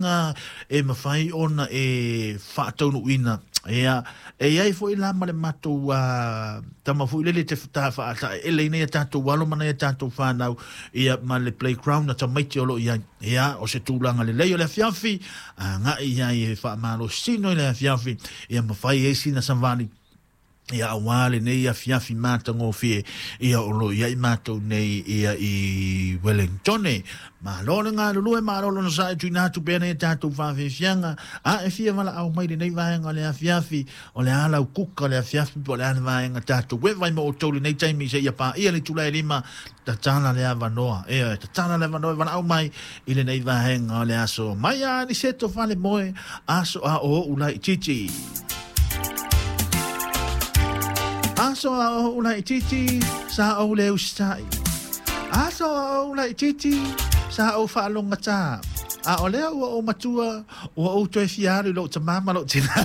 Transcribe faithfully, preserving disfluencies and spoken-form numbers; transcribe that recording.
E mafai ona e faataunuuina. Ia, e iai foi la ma le matou uh, tama foi lele te faataele ina ia tatou alo ma ia tatou fanau, ia ma le playground na tamaiti o lo o i ai. Ia, o se tulaga lelei o le afiafi agai ai e faamalosino i le afiafi, ia mafai ai sina savali, ia aua lenei afiafi matagofie, ia o lo o i ai matou nei, ia i Wellington. Malo le galulue, malo lona sa e tuuina atu pea nei tatou faafiafiaga. A e fia valaau mai lenei vaega o le afiafi, o le a lau kuka o le afiafi, po o le a le vaega tatou e vai ma outou lenei taimi seia paia le itula e lima, tatala le avanoa. Ia, tatala le avanoa e valaau mai i lenei vaega o le aso. Mai a Aniceto Falemoe, aso a o ou laitiiti. Aso a ou laitiiti, sa ou le usitai. Aso a ou laitiiti, sa ou faalogogata. A o lea ua ou matua, ua ou toe fia alu i lou tamā ma lou tinā.